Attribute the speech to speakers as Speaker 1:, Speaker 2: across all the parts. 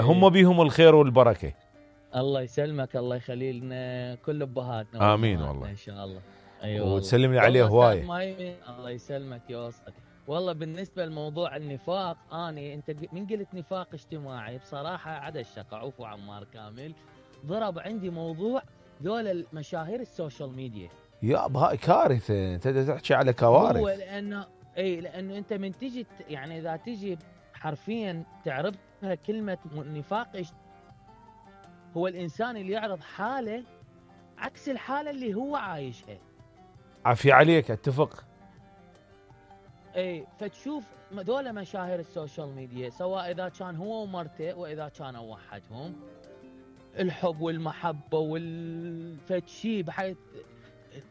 Speaker 1: هم بيهم الخير والبركة.
Speaker 2: الله يسلمك، الله يخلي لنا كل ابهاتنا.
Speaker 1: آمين والله
Speaker 2: ان شاء الله.
Speaker 1: وتسلم لي عليه هواية.
Speaker 2: الله يسلمك يوصلك. والله بالنسبة لموضوع النفاق، انت من قلت نفاق اجتماعي بصراحة عدا الشقة، عفو عمار كامل ضرب عندي موضوع ذول المشاهير السوشيال ميديا.
Speaker 1: يا هاي كارثة، انت تحكي على كوارث.
Speaker 2: هو لانه انت من تجي يعني اذا تجي حرفيا تعرضها كلمة نفاق، هو الانسان اللي يعرض حالة عكس الحالة اللي هو عايشها.
Speaker 1: عافية عليك، اتفق.
Speaker 2: فتشوف دول مشاهير السوشيال ميديا، سواء اذا كان هو ومرته واذا كانوا وحدهم، الحب والمحبة والفتشي بحيث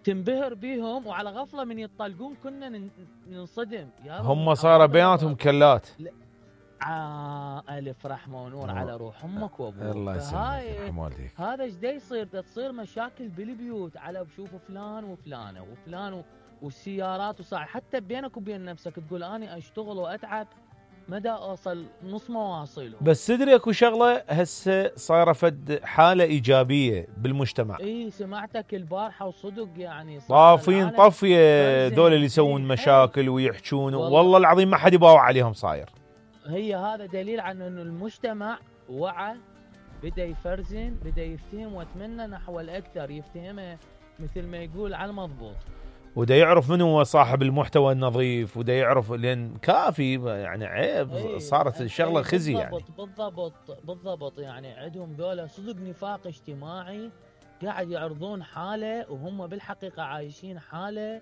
Speaker 2: تنبهر بيهم، وعلى غفلة من يطلقون كنا ننصدم.
Speaker 1: هم صار بيناتهم كلات.
Speaker 2: ألف رحمة ونور على روح أمك وأبوك.
Speaker 1: الله يسلمك.
Speaker 2: هذا ايش دا يصير؟ تصير مشاكل بالبيوت على بشوفوا فلان وفلانة وفلان والسيارات وصاع، حتى بينك وبين نفسك تقول أنا أشتغل وأتعب مدى أوصل نص مواصيله.
Speaker 1: بس تدري اكو شغلة هسه صايرة فد حالة إيجابية بالمجتمع.
Speaker 2: سمعتك البارحة وصدق يعني
Speaker 1: طافين طفية ذول اللي يسوون مشاكل ويحجون، والله العظيم ما حد يباوع عليهم صاير.
Speaker 2: هي هذا دليل عن انه المجتمع وعى، بدا يفرزن، بدا يفتهم، واتمنى نحو الاكثر يفتهمه مثل ما يقول على المضبوط،
Speaker 1: ودا يعرف من هو صاحب المحتوى النظيف، ودا يعرف لان كافي يعني عيب. صارت الشغله خزي يعني.
Speaker 2: بالضبط يعني عندهم ذولا صدق نفاق اجتماعي، قاعد يعرضون حاله وهم بالحقيقه عايشين حاله.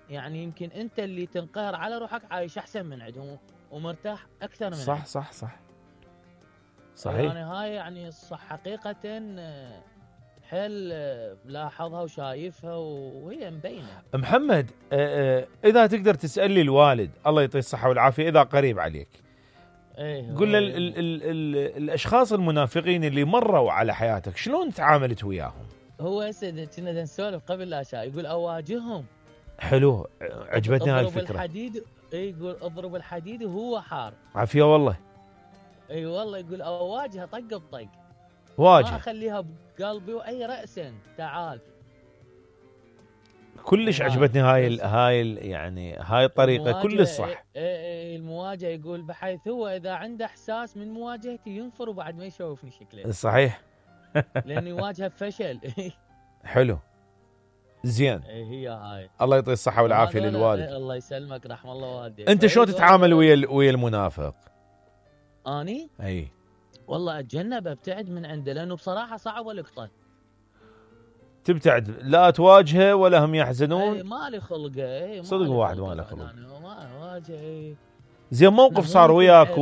Speaker 2: يعني يمكن انت اللي تنقهر على روحك عايش احسن من عندهم ومرتاح اكثر من
Speaker 1: صح صحيح.
Speaker 2: يعني هاي يعني صح حقيقه حيل لاحظها وشايفها وهي مبينه.
Speaker 1: محمد، اذا تقدر تسال لي الوالد الله يعطيه الصحه والعافيه اذا قريب عليك، قل له الاشخاص المنافقين اللي مروا على حياتك شلون تعاملت وياهم؟
Speaker 2: هو هسه كنا نسولف قبل لا شاء، يقول اواجههم.
Speaker 1: حلو، عجبتني هاي الفكره.
Speaker 2: اضرب الحديد، يقول اضرب الحديد وهو حار.
Speaker 1: عافيه والله.
Speaker 2: والله يقول اواجهه طق بطق،
Speaker 1: واجه،
Speaker 2: ما اخليها بقلبي واي راسا تعال.
Speaker 1: كلش عجبتني هاي يعني هاي الطريقه كلش صح.
Speaker 2: المواجهه يقول بحيث هو اذا عنده احساس من مواجهتي ينفر وبعد ما يشوفني شكله.
Speaker 1: صحيح.
Speaker 2: لان يواجه بفشل.
Speaker 1: حلو زين.
Speaker 2: هي هاي.
Speaker 1: الله يعطيه الصحه والعافيه للوالد.
Speaker 2: الله يسلمك، رحم الله والديك.
Speaker 1: انت شلون تتعامل ويا المنافق؟
Speaker 2: اني والله اتجنب، ابتعد من عنده، لانه بصراحه صعب القطه.
Speaker 1: تبتعد، لا تواجهه ولا هم يحزنون.
Speaker 2: ما لي خلقه.
Speaker 1: صدق واحد ما له خلق.
Speaker 2: ما اواجه.
Speaker 1: زين، موقف صار وياك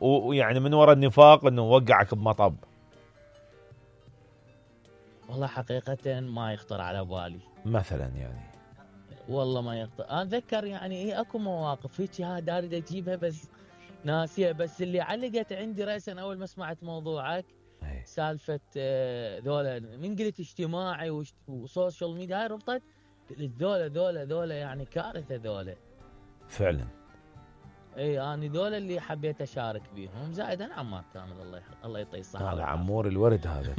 Speaker 1: ويعني من وراء النفاق انه وقعك بمطب؟
Speaker 2: والله حقيقه ما يخطر على بالي
Speaker 1: مثلا يعني.
Speaker 2: والله ما يخطر. انا اتذكر يعني اكو مواقف هيك داري اجيبها بس ناسيه. بس اللي علقت عندي راسا اول ما سمعت موضوعك سالفه ذولا من قلت اجتماعي وسوشيال ميديا، هاي ربطت ذولا يعني كارثه ذولا
Speaker 1: فعلا.
Speaker 2: انا ذولا اللي حبيت اشارك بيهم، زائد انا عمار كامل الله يعطيه الصحه.
Speaker 1: هذا عمور الورد هذا.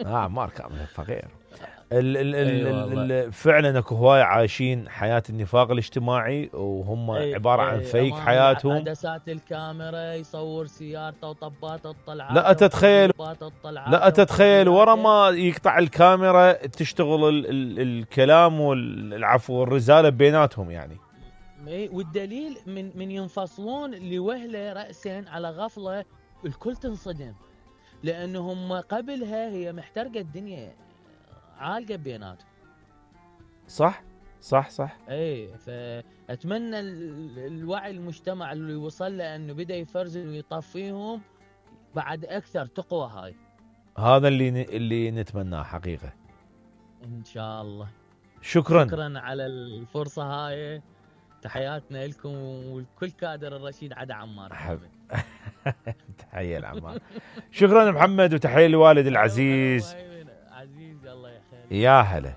Speaker 1: عمار كامل فقير. فعلا اكو هواي عايشين حياه النفاق الاجتماعي وهم عباره عن فيك حياتهم.
Speaker 2: عدسات الكاميرا يصور سيارته وطبات الطلعات.
Speaker 1: لا تتخيل ورا ما يقطع الكاميرا تشتغل الكلام والعفو والرزاله بيناتهم يعني.
Speaker 2: والدليل من ينفصلون لوهله رأسا على غفله الكل تنصدم، لانهم قبلها هي محترقه الدنيا عالقه بيناتهم.
Speaker 1: صح.
Speaker 2: فاتمنى الوعي المجتمع اللي وصل له انه بدا يفرزن ويطفيهم بعد اكثر تقوى. هاي
Speaker 1: هذا اللي نتمناه حقيقه
Speaker 2: ان شاء الله.
Speaker 1: شكرا
Speaker 2: على الفرصه هاي. تحياتنا لكم والكل كادر الرشيد عدا عمار.
Speaker 1: تحيه لعمار. شكرا محمد، وتحيه للوالد العزيز.
Speaker 2: عزيز الله يخليك.
Speaker 1: يا هلا.